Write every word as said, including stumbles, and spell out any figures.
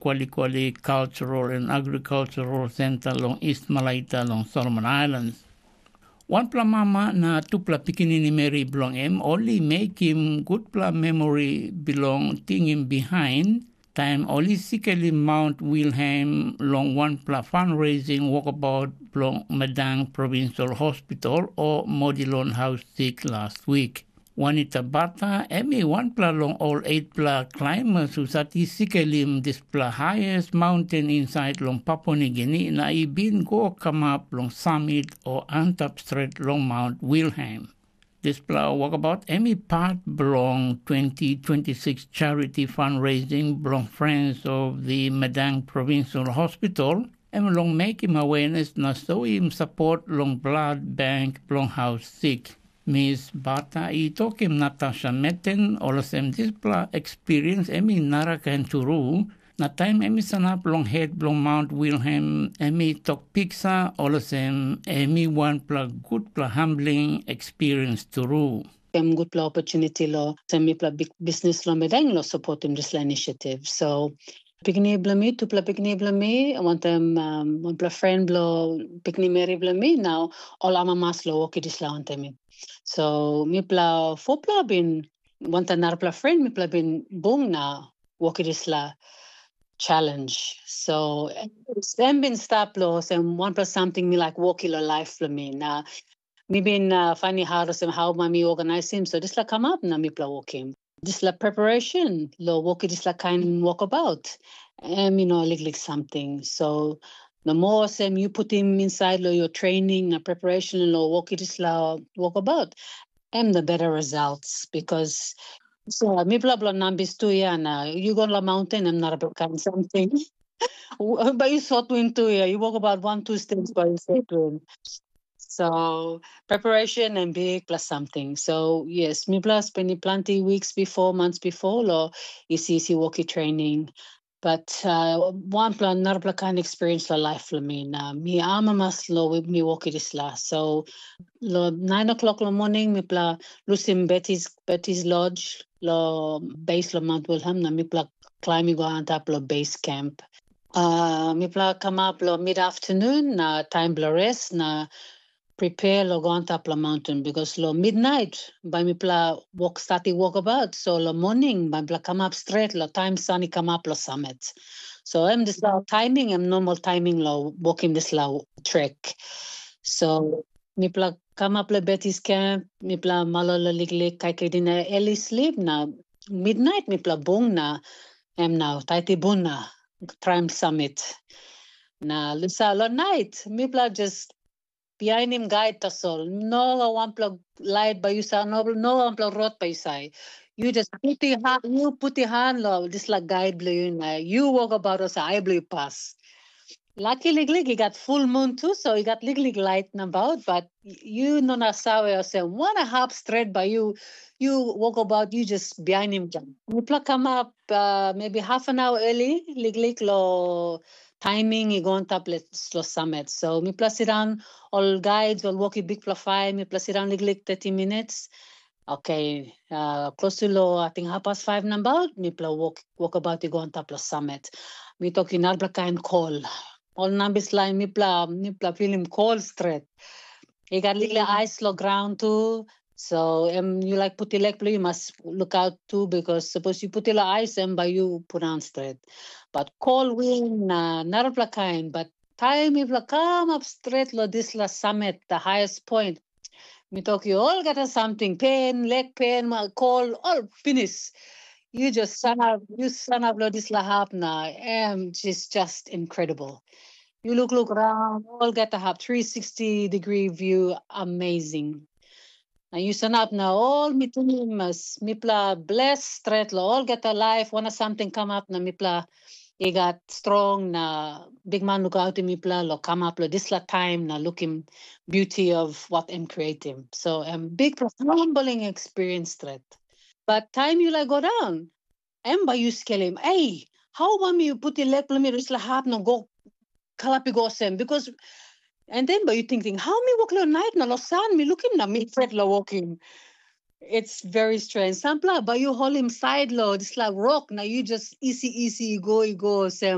Kwalikwali Cultural and Agricultural Center long East Malaita long Solomon Islands. Wanpela mama na tupela pikinini meri bilong em ol i mekim gutpela memori bilong tingim bihain taim ol i sikelim Mount Wilhelm long wanpela fundraising wokabaut bilong Madang Provincial Hospital o Modilon Haus Sik last wik. Juanita Bata, em i wanpela long ol etpela climbers husat i sikelim dispela highest mountain inside long Papua Nigini na i bin go kamap long summit o antap stret long Mount Wilhelm. Dispela wokabaut em i part bilong twenty twenty-six charity fundraising bilong Friends of the Madang Provincial Hospital, em long mekim awareness na soim sapot long blood bank bilong haus sik. Miss Bata i tokim Natasha Meten olsem dispela experience em i narakain turu, na taim em i sanap long het bilong Mount Wilhelm, em i tok piksa olsem em i wanpela gutpela humbling experience turu. Em gutpela opportunity lo sem mipela big business lo medang lo supportim dispela initiative. So pikinini bilong mi, tupela pikinini bilong mi, wantaim um, wanpela friend bilong pikinini meri bilong mi, nau ol amamas lo woki dispela wantaim mi. So mipela fopela bin wantaim narapela friend mipela bin bung na woki dispela challenge. So em bin stap lo sem wanpela something mi like woki lo life lo mi. Na mi bin uh, finding hard olsem how ma mi organizim. So dispela come up na mipela wokim. Dispela preparation lo woki dispela kain walkabout. Em you know liklik something. So the more sem you put him inside lo your training na preparation lo woki dispela walkabout, em the better results because so mipela bilong nambis tu ya na you go la mountain em not a big kind something. But you sort win too, yeah. You walk about one, two steps by your sort win. So preparation and big plus something. So yes, mipela spending plenty weeks before, months before, lo isi isi walkie training. But uh, one plan, another plan kind of experience la life for me. Na mi amamas lo with mi walkie this la. So lo nine o'clock lo morning, mipela lusim Betty's Betty's Lodge lo base lo Mount Wilhelm. Na mipela climb go on top lo base camp. Uh, mipela come up lo mid afternoon na time blo rest na prepare lo go on top lo mountain because lo midnight by mipela walk start i walk about. So lo morning by mipela come up straight lo time sun i come up lo summit. So em this lo timing em normal timing lo walking this lo trek. So mipela come up lo Betty's camp, mipela malo lo liklik kaikai dina early sleep na midnight mipela bung na em now taiti bun na prime summit. Na lusa lo night mipela just bihainim guide tasol. No wanpela light by yusa, no no wanpela road by yusai. You just put your hand, you put your hand lo this like guide blue you na you walk about us eye blue pass. Lucky liklik, he got full moon too, so he got liklik light about, but you no na sawe or say one a half straight by you, you walk about, you just behind him. Mipla come up uh, maybe half an hour early, liklik lo timing i go on top lo summit. So mipla sit down, all guides, all walkie big pla five, mipla sit down liklik thirty minutes. Okay, uh, close to lo, I think half past five number, mipla walk walk about i go on top lo summit. Mi toki narapla kain kol. Ol nambis lain mipla mipla filim kol stret. I gat liklik ais lo graun tu. So em yu laik puti lek bilong yu mas lukaut tu, because sapos yu puti lo ais em bai yu pundaun stret. Bat kol win na narapela kain, bat taim mipela kamap stret lo dispela samet, the highest point, mi tok yu olgeta samting, pen, lek pen, ma kol, ol pinis. Yu just sanap, yu sanap lo dispela hap na em just just incredible. Yu lukluk raun, olgeta hap three sixty degree view, amazing. Na yu sanap na ol mi tingim mas mipela bles stret lo olgeta laip, wana samting kamap na mipela i gat strong na bikman lukautim mipela lo kamap lo dispela taim na lukim beauty of what em creatim. So em bikpela humbling experience stret. But taim yu laik go daun, em bai yu skelim, ei, hau bai mi putim lek bilong mi long dispela hap na go kalap i go olsem? Because and then bai yu tingting, hau mi wok long nait na long san mi lukim na mi pret long wokim. It's very strange. Sampela, but you hold him side lo, it's like rock. Now you just easy, easy, you go, you go, Sam.